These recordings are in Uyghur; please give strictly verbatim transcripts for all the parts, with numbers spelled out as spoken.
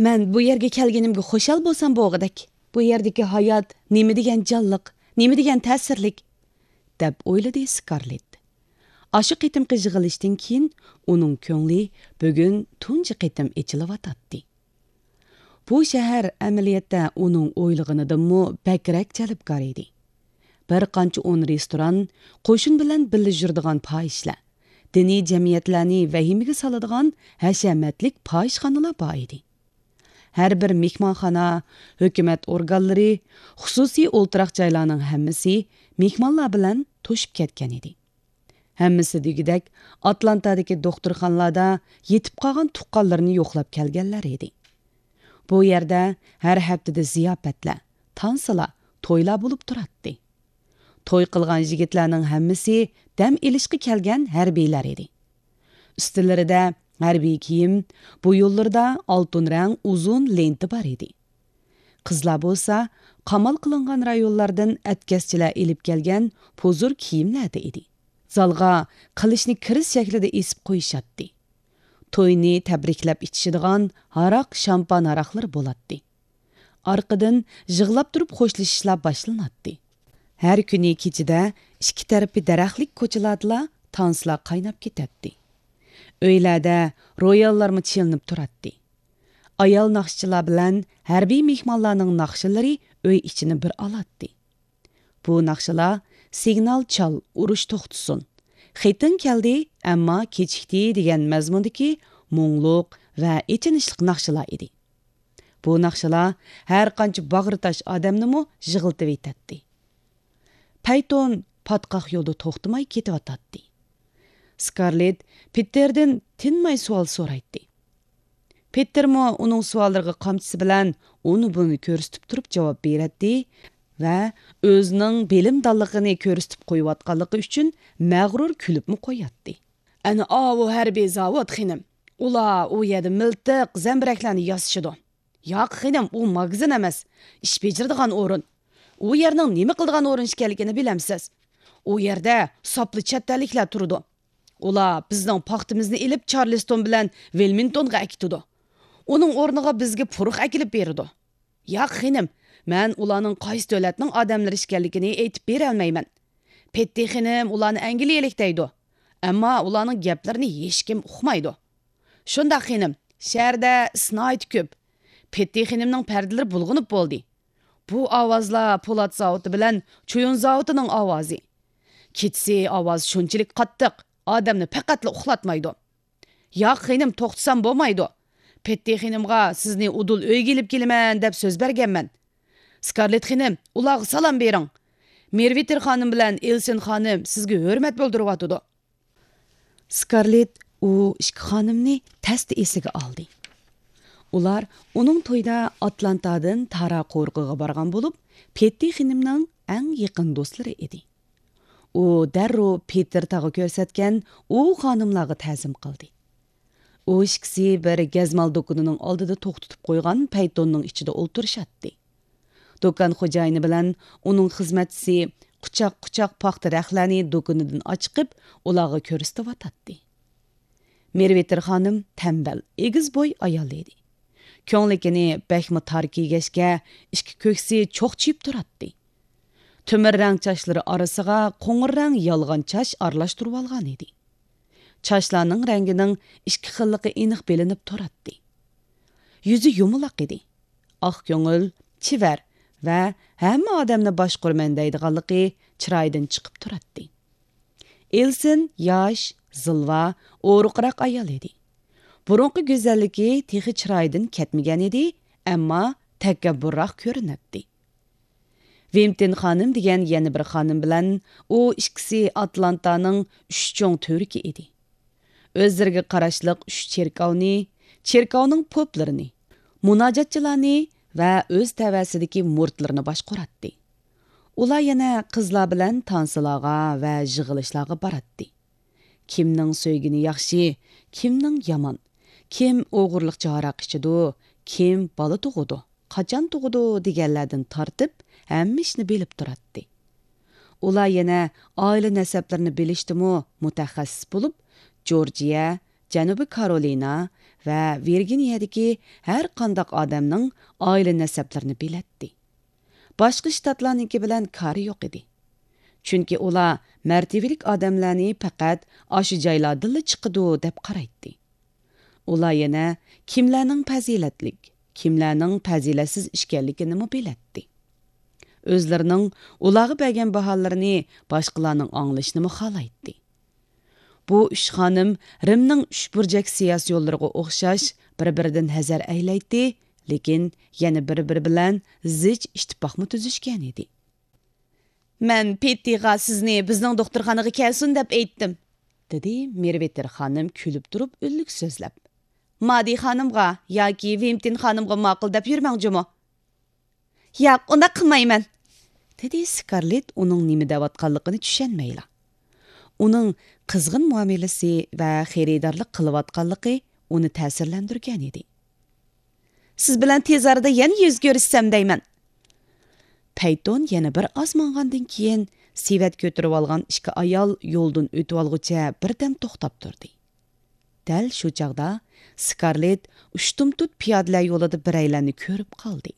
مەن بۇ يەرگە كەلگىنىمگە خۇشال بولسام بولغۇدەك. بۇ يەردىكى ھايات نېمە دېگەن جانلىق، نېمە دېگەن تەسىرلىك، دەپ ئويلىدى سكارلېت. ئاشۇ قېتىمقى يىغىلىشتىن كېيىن ئۇنىڭ كۆڭلى بۈگۈن تۇنجى قېتىم ئېچىلىۋاتاتتى. بۇ شەھەر ئەمەلىيەتتە ئۇنىڭ ئويلىغىنىدىنمۇ بەكرەك جەلپكار ئىدى. بىر قانچە ئون رېستوران، قوشۇن بىلەن بىللە يۈرىدىغان پاھىشلار، دىنىي جەمئىيەتلەرنى ۋەھىمىگە سالىدىغان ھەشەمەتلىك پاھىشخانىلار بار ئىدى. ھەر بىر مېھمانخانا، ھۆكۈمەت ئورگانلىرى، خۇسۇسىي ئولتۇراق جايلارنىڭ ھەممىسى مېھمانلار بىلەن توشۇپ كەتكەن ئىدى. ھەممىسى دېگۈدەك ئاتلانتادىكى دوختۇرخانىلاردا يېتىپ قالغان تۇغقانلىرىنى يوقلاپ كەلگەنلەر ئىدى. بۇ يەردە ھەر ھەپتىدە زىياپەتلەر، تانسىلار، تويلار بولۇپ تۇراتتى. توي قىلغان يىگىتلەرنىڭ ھەممىسى دەم ئېلىشقا كەلگەن ھەربىيلەر ئىدى. ئۈستىلىرىدە ھەربىي كىيىم، بويۇنلىرىدا ئالتۇن رەڭ ئۇزۇن لېنتا بار ئىدى. قىزلار بولسا قامال قىلىنغان رايونلاردىن ئەتكەسچىلەر ئېلىپ كەلگەن پۇزۇر كىيىملەردە ئىدى. زالغا قىلىچنى كىرىز شەكلىدە ئېسىپ قويۇشاتتى. توينى تەبرىكلەپ ئىچىشىدىغان ھاراق، شامپان ھاراقلىرى بولاتتى. ئارقىدىن يىغلاپ تۇرۇپ خوشلىشىشلار باشلىناتتى. ھەر كۈنى كېچىدە ئىككى تەرىپى دەرەخلىك كوچىلاردىلا تانسلار قايناپ كېتەتتى. ئۆيلەردە روياللارمۇ چېلىنىپ تۇراتتى. ئايال ناخشىچىلار بىلەن ھەربىي مېھمانلارنىڭ ناخشىلىرى ئۆي ئىچىنى بىر ئالاتتى. بۇ ناخشىلار «سىگنال چال، ئۇرۇش توختىسۇن، خېتىڭ كەلدى، ئەمما كېچىكتى» دېگەن مەزمۇندىكى مۇڭلۇق ۋە ئېچىنىشلىق ناخشىلار ئىدى. بۇ ناخشىلار ھەر قانچە باغرى تاش ئادەمنىمۇ يىغلىتىۋېتەتتى. پەيتون پاتقاق يولدا توختىماي كېتىۋاتاتتى. سكارلېت پېتېردىن تىنماي سوئال سورايتتى. پېتېرمۇ ئۇنىڭ سوئاللىرىغا قامچىسى بىلەن ئۇنى-بۇنى كۆرسىتىپ تۇرۇپ جاۋاب بېرەتتى ۋە ئۆزىنىڭ بىلىمدانلىقىنى كۆرسىتىپ قويۇۋاتقانلىقى ئۈچۈن مەغرۇر كۈلۈپمۇ قوياتتى. «ئەنە ئاۋۇ ھەربىي زاۋۇت، خېنىم. ئۇلار ئۇ يەردە مىلتىق، زەمبىرەكلەرنى ياسىشىدۇ.» «ياق، خېنىم، ئۇ ماگىزىن ئەمەس، ئىش بېجىرىدىغان ئورۇن. ئۇ يەرنىڭ نېمە قىلىدىغان ئورۇن ئىكەنلىكىنى بىلەمسىز؟ ئۇ يەردە ساپلا چەت ئەللىكلەر تۇرىدۇ. ئۇلار بىزنىڭ پاختىمىزنى ئېلىپ، چارلىستون بىلەن ۋىلمىنگتونغا ئەكېتىدۇ. ئۇنىڭ ئورنىغا بىزگە پۇرىق ئەكېلىپ بېرىدۇ.» «ياق، خېنىم، مەن ئۇلارنىڭ قايسى دۆلەتنىڭ ئادەملىرى ئىكەنلىكىنى ئېيتىپ بېرەلمەيمەن. پېتتى خېنىم ئۇلارنى ئەنگلىيەلىك دەيدۇ. ئەمما ئۇلارنىڭ گەپلىرىنى ھېچكىم ئۇقمايدۇ.» «شۇنداق، خېنىم، شەھەردە ئىس ناھايىتى كۆپ. پېتتى خېنىمنىڭ پەردىلىرى بۇلغىنىپ بولدى. بۇ ئاۋازلار پولات زاۋۇتى بىلەن چويۇن زاۋۇتىنىڭ ئاۋازى. كېچىسى ئاۋاز شۇنچىلىك قاتتىق، ئادەمنى پەقەتلا ئۇخلاتمايدۇ.» «ياق، خېنىم، توختىسام بولمايدۇ. پېتتى خېنىمغا سىزنى ئۇدۇل ئۆيگە ئېلىپ كېلىمەن دەپ سۆز بەرگەنمەن. سكارلېت خېنىم، ئۇلارغا سالام بېرىڭ. مېرۋىتېر خانىم بىلەن ئېلسىن خانىم سىزگە ھۆرمەت بىلدۈرۈۋاتىدۇ.» سكارلېت ئۇ ئىككى خانىمنى تەستە ئېسىگە ئالدى. ئۇلار ئۇنىڭ تويىدا ئاتلانتادىن تارا قورۇقىغا بارغان بولۇپ، پېتتى خېنىمنىڭ ئەڭ يېقىن دوستلىرى ئىدى. ئۇ دەررۇ پېتېر تاغا كۆرسەتكەن ئۇ خانىملارغا تەزىم قىلدى. ئۇ ئىككىسى بىر گەزمال دۇكىنىنىڭ ئالدىدا توختىتىپ قويغان پەيتوننىڭ ئىچىدە ئولتۇرۇشاتتى. دۇكان خوجايىنى بىلەن ئۇنىڭ خىزمەتچىسى قۇچاق-قۇچاق پاختا رەختلەرنى دۇكىنىدىن ئاچىقىپ، ئۇلارغا كۆرسىتىۋاتاتتى. مېرۋېتېر خانىم تەمبەل، ئېگىز بوي ئايال ئىدى. كۆڭلىكىنى بەكمۇ تار كىيگەچكە، ئىككى كۆكسى چوقچىيىپ تۇراتتى. تۆمۈر رەڭ چاچلىرى ئارىسىغا قوڭۇر رەڭ يالغان چاچ ئارىلاشتۇرۇۋالغان ئىدى. چاچلارنىڭ رەڭگىنىڭ ئىككى خىللىقى ئېنىق بىلىنىپ تۇراتتى. يۈزى يۇمىلاق ئىدى. ئاق كۆڭۈل، چېۋەر ۋە ھەممە ئادەمنى باشقۇرىمەن دەيدىغانلىقى چىرايىدىن چىقىپ تۇراتتى. ئېلسىن ياش، زىلۋا، ئورۇقراق ئايال ئىدى. بۇرۇنقى گۈزەللىكى تېخى چىرايىدىن كەتمىگەن ئىدى، ئەمما تەكەببۇرراق كۆرۈنەتتى. ۋىمتىن خانىم دېگەن يەنە بىر خانىم بىلەن ئۇ ئىككىسى ئاتلانتانىڭ ئۈچ چوڭ تۈۋرۈكى ئىدى. ئۆزلىرىگە قاراشلىق ئۈچ چېركاۋنى، چېركاۋنىڭ پوپلىرىنى، مۇناجاتچىلارنى ۋە ئۆز تەۋەسىدىكى مۇرىتلىرىنى باشقۇراتتى. ئۇلار يەنە قىزلار بىلەن تانسىلارغا ۋە يىغىلىشلارغا باراتتى. كىمنىڭ سۆيگىنى ياخشى، كىمنىڭ يامان، كىم ئوغرىلىقچە ھاراق ئىچىدۇ، كىم بالا تۇغىدۇ، قاچان تۇغىدۇ دېگەنلەردىن تارتىپ ھەممە ئىشنى بىلىپ تۇراتتى. ئۇلار يەنە ئائىلە نەسەبلىرىنى بىلىشتىمۇ مۇتەخەسسىس بولۇپ، جورجىيە، جەنۇبىي كارولىنا ۋە ۋىرگىنىيەدىكى ھەر قانداق ئادەمنىڭ ئائىلە نەسەبلىرىنى بىلەتتى. باشقا شتاتلارنىڭكى بىلەن كارى يوق ئىدى. چۈنكى ئۇلار مەرتىۋىلىك ئادەملەرنى پەقەت ئاشۇ جايلاردىنلا چىقىدۇ دەپ قارايتتى. ئۇلار يەنە كىملەرنىڭ پەزىلەتلىك، كىملەرنىڭ پەزىلەتسىز ئىكەنلىكىنىمۇ بىلەتتى. ئۆزلىرىنىڭ ئۇلارغا بەرگەن باھالىرىنى باشقىلارنىڭ ئاڭلىشىنىمۇ خالايتتى. بۇ ئۈچ خانىم رىمنىڭ ئۈچ بۇرجەك سىياسىي يوللىرىغا ئوخشاش بىر-بىرىدىن ھەزەر ئەيلەيتتى، لېكىن يەنە بىر-بىرى بىلەن زىچ ئىتتىپاقمۇ تۈزۈشكەن ئىدى. مەن پېتتىغا سىزنى بىزنىڭ دوختۇرخانىغا كەلسۇن دەپ ئېيتتىم، دېدى مېرۋېتېر خانىم كۈلۈپ تۇرۇپ ئۈنلۈك سۆزلەپ. مادى خانىمغا ياكى ۋىمتىن خانىمغا ماقۇل دەپ يۈرمەڭ جۇمۇ. ياق، ئۇنداق قىلمايمەن، دېدى سكارلېت ئۇنىڭ نېمە دەۋاتقانلىقىنى چۈشەنمەيلا. ئۇنىڭ قىزغىن مۇئامىلىسى ۋە خېرىدارلىق قىلىۋاتقانلىقى ئۇنى تەسىرلەندۈرگەن ئىدى. سىز بىلەن تېز ئارىدا يەنە يۈز كۆرۈشسەم دەيمەن. پەيتون يەنە بىر ئاز ماڭغاندىن كېيىن، سېۋەت كۆتۈرۈۋالغان ئىككى ئايال يولدىن ئۆتۈۋالغۇچە بىردەم توختاپ تۇردى. دەل شۇ چاغدا سكارلېت ئۇشتۇمتۇت پىيادىلەر يولىدا بىرەيلەننى كۆرۈپ قالدى.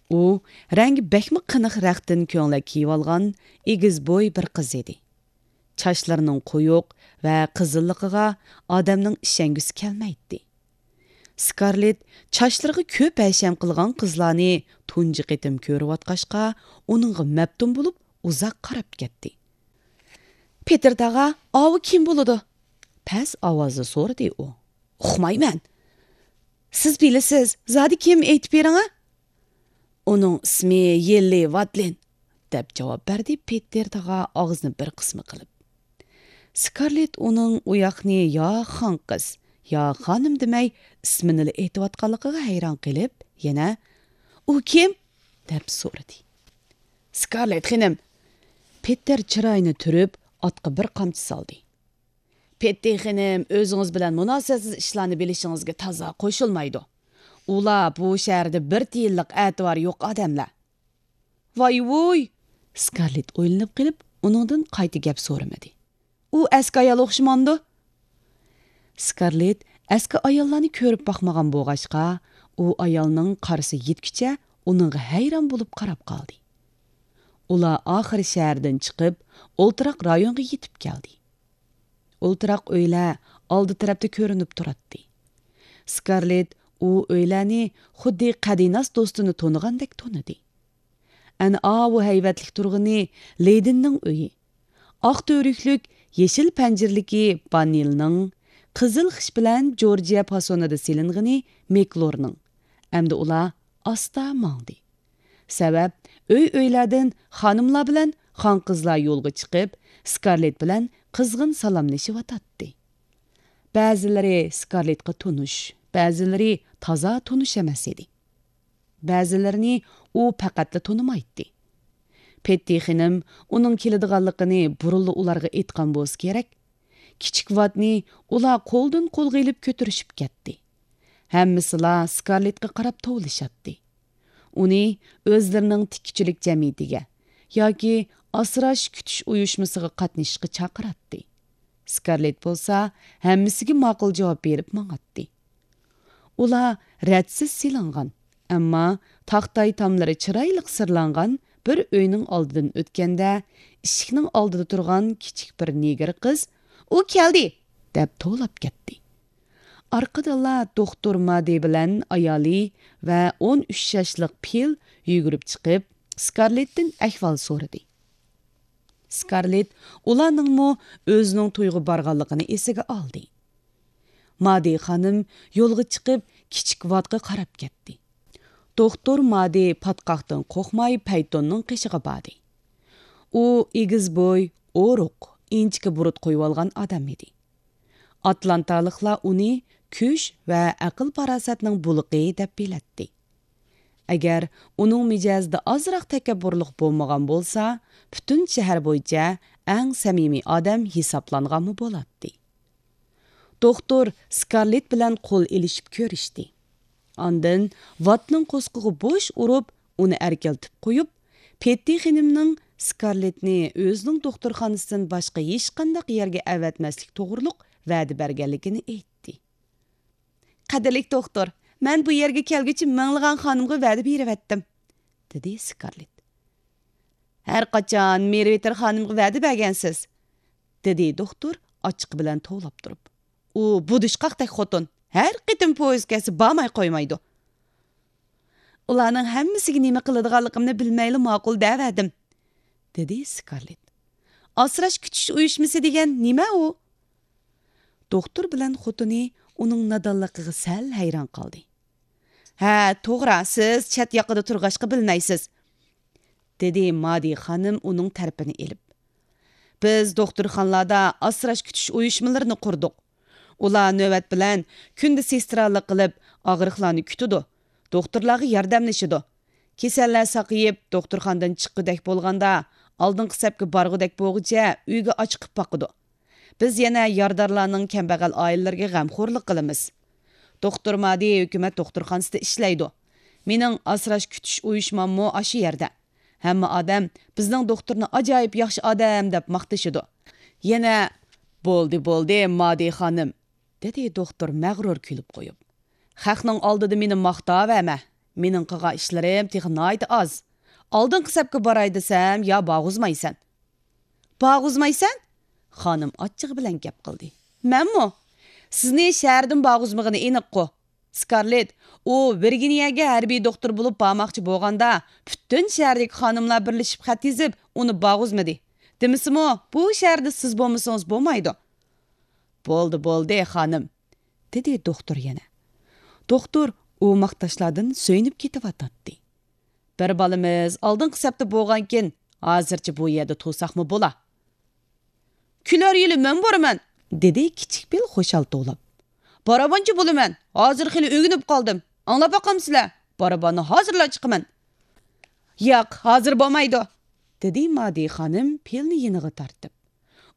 ئۇ رەڭگى بەكمۇ قېنىق رەختتىن كۆڭلەك كىيىۋالغان ئېگىز بوي بىر قىز ئىدى. چاچلىرىنىڭ قويۇق ۋە قىزىللىقىغا ئادەمنىڭ ئىشەنگۈسى كەلمەيتتى. سكارلېت چاچلىرىغا كۆپ ھەشەم قىلغان قىزلارنى تۇنجى قېتىم كۆرۈۋاتقاچقا، ئۇنىڭغا مەپتۇن بولۇپ ئۇزاق قاراپ كەتتى. پېتېر تاغا، ئاۋۇ كىم بولىدۇ؟ پەس ئاۋازدا سورىدى ئۇ. ئۇقمايمەن. سىز بىلىسىز، زادى كىم، ئېيتىپ بېرىڭە. ئۇنىڭ ئىسمى يېللى ۋاتلىن، دەپ جاۋاب بەردى پېتېر تاغا ئاغزىنى بىر قىسما قىلىپ. سكارلېت ئۇنىڭ ئۇ ياقنى يا خانقىز، يا خانىم دېمەي، ئىسمىنىلا ئېيتىۋاتقانلىقىغا ھەيران قېلىپ، يەنە، ئۇ كىم؟ دەپ سورىدى. سكارلېت خېنىم. پېتېر چىرايىنى تۈرۈپ، ئاتقا بىر قامچا سالدى. پېتتى خېنىم ئۆزىڭىز بىلەن مۇناسىۋەتسىز ئىشلارنى بىلىشىڭىزگە تازا قوشۇلمايدۇ. ئۇلار بۇ شەھەردە بىر تىيىنلىق ئەتىۋارى يوق ئادەملەر. ۋاي ۋۇي! سكارلېت ئويلىنىپ قېلىپ، ئۇنىڭدىن قايتا گەپ سورىمىدى. ئۇ ئەسكى ئايال ئوخشىمامدۇ؟ سكارلېت ئەسكى ئاياللارنى كۆرۈپ باقمىغان بولغاچقا، ئۇ ئايالنىڭ قارىسى يەتكۈچە ئۇنىڭغا ھەيران بولۇپ قاراپ قالدى. ئۇلار ئاخىرى شەھەردىن چىقىپ، ئولتۇراق رايونغا يېتىپ كەلدى. ئولتۇراق ئۆيلەر ئالدى تەرەپتە كۆرۈنۈپ تۇراتتى. سكارلېت ئۇ ئۆيلەرنى خۇددى قەدىناس دوستىنى تونۇغاندەك تونۇدى. ئەنە ئاۋۇ ھەيۋەتلىك تۇرغىنى لېدىننىڭ ئۆيى. ئاق تۈۋرۈكلۈك، يېشىل پەنجىرىلىكى باننىلنىڭ، قىزىل خىش بىلەن جورجىيە پاسونىدا سېلىنغىنى مېكلورنىڭ. ئەمدى ئۇلار ئاستا ماڭدى. سەۋەب، ئۆي-ئۆيلەردىن خانىملار بىلەن خانقىزلار يولغا چىقىپ، سكارلېت بىلەن قىزغىن سالاملىشىۋاتاتتى. بەزىلىرى سكارلېتقا تونۇش، بەزىلىرى تازا تونۇش ئەمەس ئىدى. بەزىلىرىنى ئۇ پەقەتلا تونۇمايتتى. پېتتى خېنىم ئۇنىڭ كېلىدىغانلىقىنى بۇرۇنلا ئۇلارغا ئېيتقان بولسا كېرەك. كىچىك ۋاتنى ئۇلار قولدىن قولغا ئېلىپ كۆتۈرۈشۈپ كەتتى. ھەممىسىلا سكارلېتقا قاراپ توۋلىشاتتى. ئۇنى ئۆزلىرىنىڭ تىككۈچىلىك جەمئىيىتىگە ياكى ئاسراش كۈتۈش ئۇيۇشمىسىغا قاتنىشىشقا چاقىراتتى. سكارلېت بولسا ھەممىسىگە ماقۇل جاۋاب بېرىپ ماڭاتتى. ئۇلار رەتسىز سېلىنغان، ئەمما تاختاي تاملىرى چىرايلىق سىرلانغان بىر ئۆينىڭ ئالدىدىن ئۆتكەندە، ئىشىكنىڭ ئالدىدا تۇرغان كىچىك بىر نېگىر قىز، «ئۇ كەلدى!» دەپ توۋلاپ كەتتى. ئارقىدىنلا دوختۇر مادى بىلەن ئايالى ۋە ئون ئۈچ ياشلىق پىل يۈگۈرۈپ چىقىپ، سكارلېتتىن ئەھۋال سورىدى. سكارلېت ئۇلارنىڭمۇ ئۆزىنىڭ تويغا بارغانلىقىنى ئېسىگە ئالدى. مادى خانىم يولغا چىقىپ، كىچىك ۋاتقا قاراپ كەتتى. دوختۇر مادى پاتقاقتىن قورقماي پەيتوننىڭ قېشىغا باردى. ئۇ ئېگىز بوي، ئورۇق، ئىنچىكە بۇرۇت قويۇۋالغان ئادەم ئىدى. ئاتلانتالىقلار ئۇنى كۈچ ۋە ئەقىل-پاراسەتنىڭ بۇلىقى دەپ بىلەتتى. ئەگەر ئۇنىڭ مىجەزىدە ئازراق تەكەببۇرلۇق بولمىغان بولسا، پۈتۈن شەھەر بويىچە ئەڭ سەمىمىي ئادەم ھېسابلانغانمۇ بولاتتى. دوختۇر سكارلېت بىلەن قول ئېلىشىپ كۆرۈشتى. ئاندىن ۋاتنىڭ قورسىقىغا بوش ئۇرۇپ، ئۇنى ئەركىلىتىپ قويۇپ، پېتتى خېنىمنىڭ سكارلېتنى ئۆزىنىڭ دوختۇرخانىسىدىن باشقا ھېچقانداق يەرگە ئەۋەتمەسلىك توغرۇلۇق ۋەدە بەرگەنلىكىنى ئېيتتى. قەدىرلىك دوختۇر، مەن بۇ يەرگە كەلگۈچە مىڭلىغان خانىمغا ۋەدە بېرىۋەتتىم، دېدى سكارلېت. ھەر قاچان مېرۋىتېر خانىمغا ۋەدە بەرگەنسىز، دېدى دوختۇر ئاچچىقى بىلەن توۋلاپ تۇرۇپ. ئۇ بۇدۇشقاقتەك خوتۇن، ھەر قېتىم پويىز كەلسە بارماي قويمايدۇ. ئۇلارنىڭ ھەممىسىگە نېمە قىلىدىغانلىقىمنى بىلمەيلا ماقۇل دەۋەردىم، دېدى سكارلېت. ئاسراش كۈتۈش ئۇيۇشمىسى دېگەن نېمە ئۇ؟ دوختۇر بىلەن خوتۇنى ئۇنىڭ نادانلىقىغا سەل ھەيران قالدى. ھە، توغرا، سىز چەت ياقىدا تۇرغاچقا بىلمەيسىز، دېدى مادى خانىم ئۇنىڭ تەرىپىنى ئېلىپ. بىز دوختۇرخانىلاردا ئاسراش كۈتۈش ئۇيۇشمىلىرىنى قۇردۇق. ئۇلار نۆۋەت بىلەن كۈندە سېسترالىق قىلىپ ئاغرىقلارنى كۈتىدۇ، دوختۇرلارغا ياردەملىشىدۇ. كېسەللەر ساقىيىپ، دوختۇرخانىدىن چىققۇدەك بولغاندا، ئالدىنقى سەپكە بارغۇدەك بولغۇچە ئۆيگە ئاچىقىپ باقىدۇ. بىز يەنە يارىدارلارنىڭ كەمبەغەل ئائىلىلىرىگە غەمخورلۇق قىلىمىز. دوختۇر مادى ھۆكۈمەت دوختۇرخانىسىدا ئىشلەيدۇ. مېنىڭ ئاسراش كۈتۈش ئۇيۇشماممۇ ئاشۇ يەردە. ھەممە ئادەم بىزنىڭ دوختۇرنى ئاجايىپ ياخشى ئادەم دەپ ماختىشىدۇ. يەنە، بولدى، بولدى، مادى خانىم، دېدى دوختۇر مەغرۇر كۈلۈپ قويۇپ. خەقنىڭ ئالدىدا مېنى ماختاۋەرمە. مېنىڭ قىلغان ئىشلىرىم تېخى ناھايىتى ئاز. ئالدىنقى سەپكە باراي دېسەم، يا بارغۇزمايسەن. بارغۇزمايسەن؟ خانىم ئاچچىقى بىلەن گەپ قىلدى. مەنمۇ؟ سىزنى شەھەردىن بارغۇزمىغىنى ئېنىققۇ. سكارلېت، ئۇ ۋىرگىنىيەگە ھەربىي دوختۇر بولۇپ بارماقچى بولغاندا، پۈتۈن شەھەردىكى خانىملار بىرلىشىپ خەت يېزىپ، ئۇنى بارغۇزمىدى. دېمىسىمۇ، بۇ شەھەردە سىز بولمىسىڭىز بولمايدۇ. بولدى، بولدى، خانىم، دېدى دوختۇر يەنە. دوختۇر ئۇ ماختاشلاردىن سۆيۈنۈپ كېتىۋاتاتتى. بىر بالىمىز ئالدىنقى سەپتە بولغانكىن، ھازىرچە بۇ يەردە تۇرساقمۇ بولا. كېلەر يىلى مەن بارىمەن، دېدى كىچىك پىل خۇشال توۋلاپ. بارابانچى بولىمەن، ھازىر خېلى ئۆگىنىپ قالدىم. ئاڭلاپ باقامسىلەر، باراباننى ھازىرلا چىقىمەن. ياق، ھازىر بولمايدۇ، دېدى مادى خانىم پىلنى يېنىغا تارتىپ.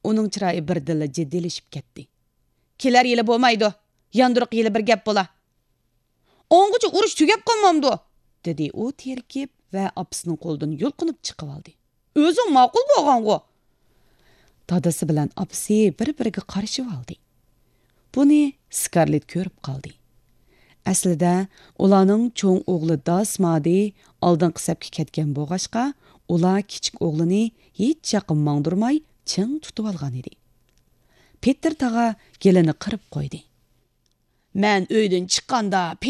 ئۇنىڭ چىرايى بىردىنلا جىددىيلىشىپ كەتتى. كېلەر يىلى بولمايدۇ، ياندۇرۇق يىلى بىر گەپ بولا. ئاڭغىچە ئۇرۇش تۈگەپ قالمامدۇ؟ دېدى ئۇ تېرىكىپ ۋە ئاپىسىنىڭ قولىدىن يۇلقۇنۇپ چىقىۋالدى. ئۆزۈڭ ماقۇل بولغانغۇ؟ دادىسى بىلەن ئاپىسى بىر-بىرىگە قارىشىۋالدى. بۇنى سكارلېت كۆرۈپ قالدى. ئەسلىدە ئۇلارنىڭ چوڭ ئوغلى داس مادى ئالدىنقى سەپكە كەتكەن بولغاچقا، ئۇلار كىچىك ئوغلىنى ھېچ ياققا ماڭدۇرماي چىڭ تۇتۇۋالغانىدى. پېتېر تاغا گېلىنى قىرىپ قويدى. مەن ئۆيدىن چىققاندا